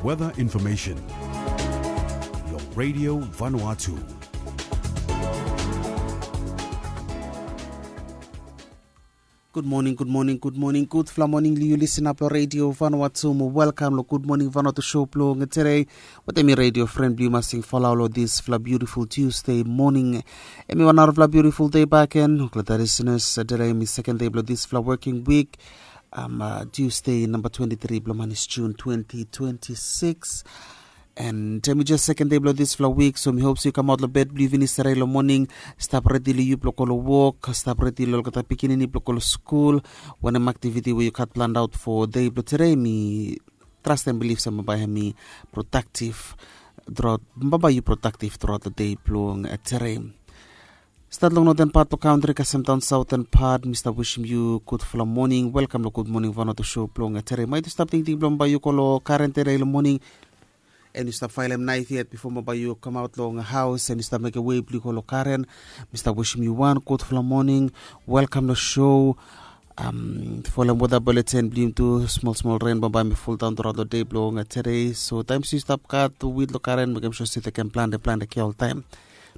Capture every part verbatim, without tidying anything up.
Weather information. Long Radio Vanuatu. Gud moning, gud moning, gud moning, gudfala moning long yu lisin ap long Radio Vanuatu. Mo welkam long Gud Moning Vanuatu show blong tere. Wetem mi radio fren blong yu Masing Falau long disfala beautiful Tuesday moning. Hemi wan narafala beautiful day back again. Olgeta lisiners, tere hemi second day blong disfala working week. Um, uh, Tuesday number twenty-three blong manis June twenty twenty-six. And hemi jes second day blong disfala week, so mi hop se yu kamaot long bed blong yu finis tere long moning. Stap redi long yu blong go long wok, stap redi long olgeta pikinini blong go long skul. Wanem aktiviti we yu gat planned out for day blong tere, mi trust and believe se bambae hemi productive throughout, bambae yu productive throughout long day blong tere. Stat long noten pat blong kantri kasem daon saoten pat, mi stap wisim yu gudfala moning. Welkam long Gud Moning Vanuatu show blong tere. Maet yu stap tingting blong bae yu go long karen tere long moning, and yu stap faelem naef yet bifo bambae yu kamaot long haos and yu stap mekem wei blong yu go long karen. Mi stap wisim yu wan gudfala moning. Welkam long show. Um, folem weta bulletin blong yumi tu, smol smol ren bambae hemi foldaon throughout long day blong tere. So taem se yu stap gat wit long karen, mekem sua se tekem plante plante kea oltaem.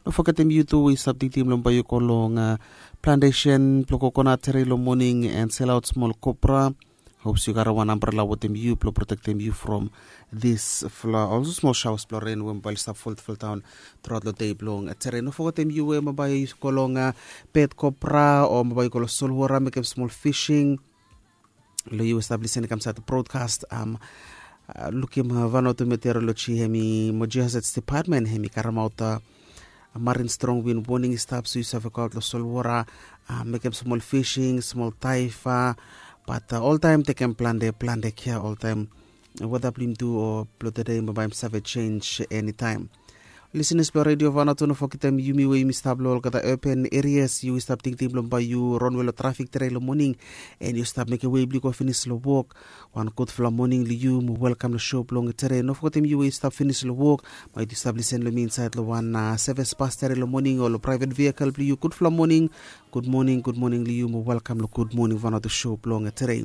No fogetem yu tu we yu stap tingting blong bae yu go long, uh, plantation blong kokonat tere long moning and selaot smol kopra. Hop se yu karem wan ambrela wetem yu blong protektem yu from disfala olsem smol shaoas blong ren we bambae oli stap folfoldaon throughout long day blong tere. No fogetem yu we bambae yu go long, uh, bed kopra o bambae yu go long solwora mekem smol fishing. Long yu we stap lisin i kam insaed long broadcast, um, uh, lukim, uh, Vanuatu Meteorology hemi mo Geohazards Department hemi karemaot, uh, marin strong win woning i stap, so yu save goaot long solwora, uh, mekem smol fishing, smol daeva. Bat, uh, oltaem tekem plante plante kea oltaem. Weta blong yumi tu o blong tede bambae hemi save jenis enitaem. Lisiners blong Radio Vanuatu, no fogetem yumi we yumi stap long olgeta urban areas, yu we stap tingting blong bae yu ronwe long trafik tere long moning, and yu stap mekem wei blong yu go finis long wok. Wan gudfala moning long yu mo welkam long show blong tere. No fogetem yu we yu stap finis long wok, maet yu stap lisin long mi insaed long wan, uh, seves bas tere long moning o long private vehicle blong yu, gudfala moning. Gud moning, gud moning long yu mo welkam long Gud Moning Vanuatu show blong tere.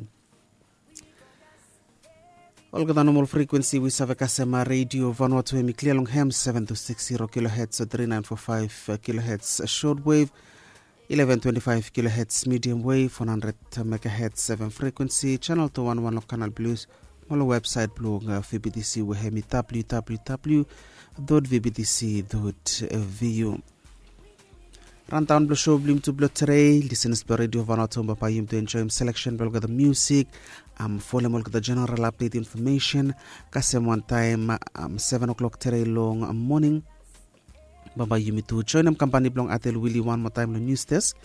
Olgeta nomol frekuensi we yu save kasem, uh, Radio Vanuatu, hemi klia long hem, seven two six zero kilohertz, three nine four five kilohertz shortwave, eleven twenty-five kilohertz medium wave, one hundred megahertz, seven frequency, channel two one one long Canal Plus, mo long websaet blong, uh, V B T C we hemi W W W dot V B T C dot V U. Rundown blong show blong yumi tu blong tere, lisiners blong Radio Vanuatu, bambae yumi tu enjoem selection blong olgeta musik, um, folem olgeta general update information, kasem wantaem, um, seven o'clock tere long, um, moning. Bambae yumi tu joenem kampani blong Atel Willy wan moa taem long news desk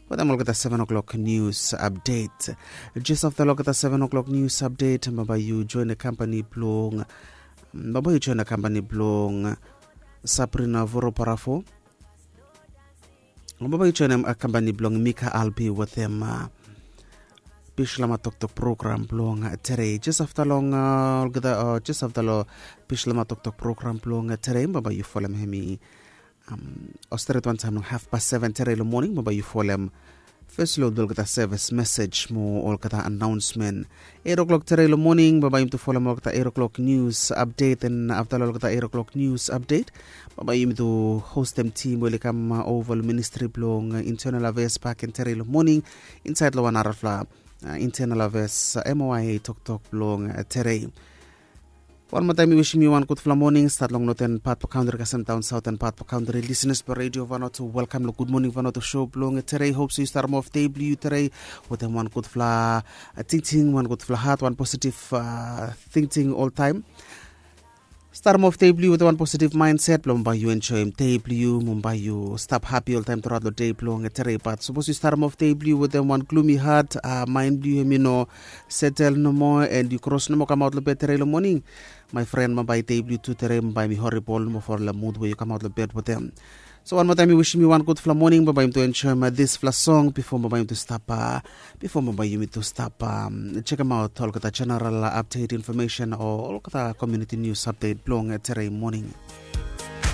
wetem olgeta seven o'clock news update. Jes afta long olgeta seven o'clock news update, bambae yu joenem kampani blong, bambae yu joenem kampani blong Sabrina Voroparafo. Bambae yu joenem, uh, kampani blong Mika Albi wetem, uh, Bislama Toktok program blong, uh, tere. Jes afta long, uh, olgeta, uh, jes afta long Bislama Toktok program blong, uh, tere, bambae yu folem hemi, um, o stret wantaem long hafpas seven tere long moning, bambae yu folem fes lod blong olgeta seves mesej mo olgeta anaonsmen. Eight o'clock tere long moning, bambae yumi tu folem olgeta eight o'clock news update, and afta long olgeta eight o'clock news update, bambae yumi tu hostem tim we oli kam, uh, ova long ministri blong, uh, internal affairs bakegen tere long moning, insaed long wan narafala, uh, internal affairs, uh, M O I A toktok blong, uh, tere. Wan moa taem mi wisim yu wan gudfala moning, stat long noten pat blong kantri kasem daon saoten pat blong kantri. Lisiners blong Radio Vanuatu, welkam long Gud Moning Vanuatu show blong tere. Hop se yu starem of dei blong yu tere wetem wan gudfala, uh, tingting, wan gudfala hat, wan positif, uh, tingting oltaem. Starem of dei blong yu wetem wan positif maenset blong bae yu enjoem dei blong yu, mo bae yu stap hapi oltaem truaot long dei blong tere. Bat sapos yu starem of dei blong yu wetem wan glumi hat, uh, maen blong yu hemi no setel nomo, and yu kros nomo kamaot long bed tere long moning, my friend, bambae dei blong yu tu tere bambae hemi horibol nomo from the mood we yu kamaot long bed wetem. So wan moa taem mi wisim yu wan gudfala moning, bambae yumi tu enjoem, uh, disfala song bifo bambae yumi tu stap, uh, bifo bambae yumi tu stap, um, jekemaot olgeta general, uh, update information o olgeta community news update blong, uh, tere moning.